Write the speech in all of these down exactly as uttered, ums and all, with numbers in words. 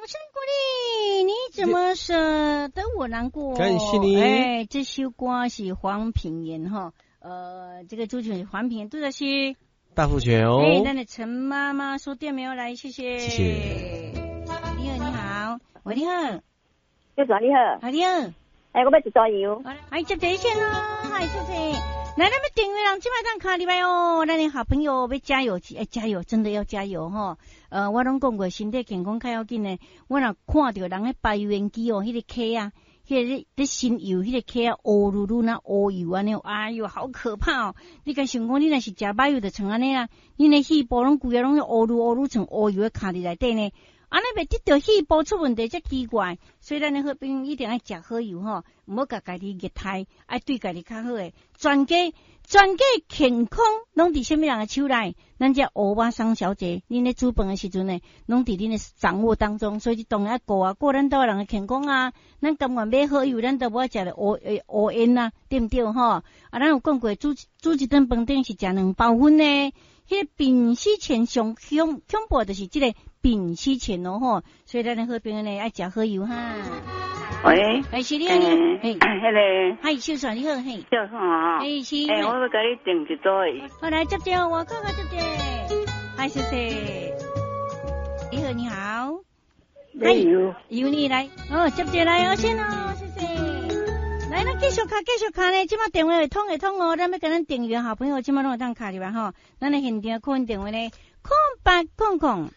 声鼓勵，你怎麼捨得我難過？感謝你。哎，這首歌是黃品源哈，呃，這個主持人黃品源，拄才是大富全哦。哎，咱的陳媽媽說店沒有來，謝謝。謝謝。你好，你好，喂，你好。小姐你好。啊，你好。哎，我欲一組油。哎，接熱線咯，嗨，謝謝。來，咱欲訂油人，這擺當敲入來哦。咱的好朋友欲加油，哎，加油，真的要加油吼。呃，我攏講過，身體健康較要緊呢。我若看著人咧排油煙機哦，彼個坑啊，彼個咧咧伸油，彼個坑啊，烏嚕嚕若烏油按呢，哎喲，好可怕哦！你敢想講，你若是食歹油就像按呢啦，你的肺部攏規个攏烏嚕烏嚕像烏油的卡佇內底呢。按呢袂得著肺部出問題才奇怪，所以咱的好朋友一定愛食好油吼，毋好共家己虐待，愛對家己較好的。全家全家健康攏佇啥物人的手內？咱這歐巴桑小姐，恁咧煮飯的時陣呢，攏佇恁的掌握當中，所以你當然愛顧啊，顧咱兜的人的健康啊。咱甘願買好油，咱都無愛食著烏烏煙啊，對毋對吼？啊，咱有講過，煮煮一頓飯頂是食兩包粉呢。彼個稟死前上恐恐怖就是這個稟死前哦吼，所以咱的好朋友呢愛食好油哈。喂，哎，是你好，嘿，彼個，嗨，秀帥你好，嘿，秀帥啊，哎是，欸，我欲共你訂一組。好，來接接，我看看接接，嗨，謝謝。你好，你好，嗨，由你來，哦，接接來，我先哦，謝謝。來，咱繼續敲，繼續敲呢。這擺電話會通會通哦，咱欲共咱訂閱好朋友，這擺攏會當敲入來吼。咱的現場扣音電話呢，空八空空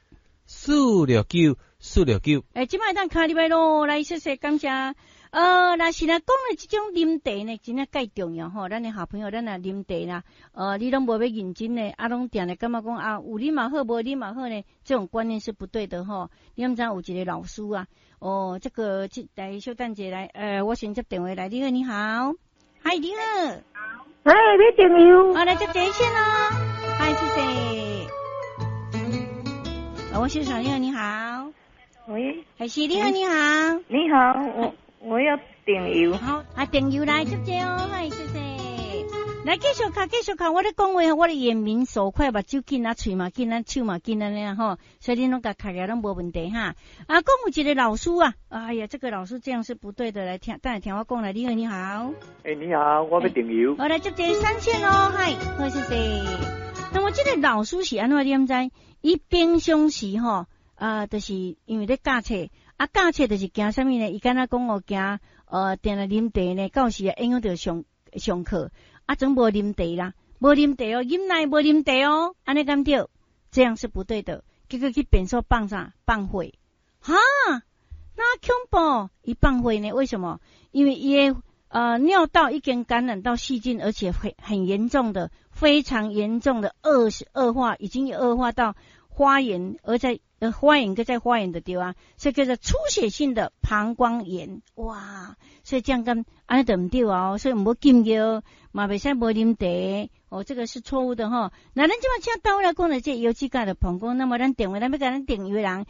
四六九四六九。欸，這擺會當敲入來囉，來，謝謝，感謝。呃，若是若講的這種啉茶呢，真正蓋重要吼。咱的好朋友，咱若啉茶啦，呃，你攏無欲認真的，啊，攏定定感覺講啊，有啉嘛好，無啉嘛好呢，這種觀念是不對的吼。你毋知有一個老師啊，哦，這個這來小等一下來，呃，我先接電話來。你好，你好，嗨，你好，哎，欲訂油，好，來接熱線咯，嗨，謝謝。我先生，你好，你好，喂，還是你好，你好，你好，我。我要訂油。好，啊，訂油來接這哦，嗨，謝謝。來繼續敲，繼續敲，我咧講話，我咧眼明手快，目睭緊啊，喙嘛緊啊，手嘛緊按呢吼，所以恁攏共敲來攏無問題哈。啊，講有一個老師啊，哎呀，這個老師這樣是不對的，來聽，等下聽我講來。你好，你好。欸，你好，我欲訂油。我來接這三線哦，嗨，好，謝謝。那麼這個老師是按怎你毋知？伊平常時吼，啊，就是因為咧教冊。啊，教冊就是驚啥物呢？伊敢若講哦，驚呃，定定啉茶呢，到時啊影響著上上課，啊，總無啉茶啦，無啉茶哦，飲奶無啉茶哦，按呢敢對？這樣是不對的。結果去便所放啥？放血，哈，那恐怖！伊放血呢？為什麼？因為伊的呃尿道已經感染到細菌，而且很很嚴重的，非常嚴重的惡惡化，已經惡化到發炎，而在。呃，發炎閣再發炎的對啊，所以叫做出血性的膀胱炎，哇！所以這樣敢按呢就毋對啊，所以毋好禁藥，嘛袂使無啉茶，哦，這個是錯誤的吼。那咱這擺請到來講的這油脂蓋的膀胱，那麼咱電話咱欲共咱訂油的人。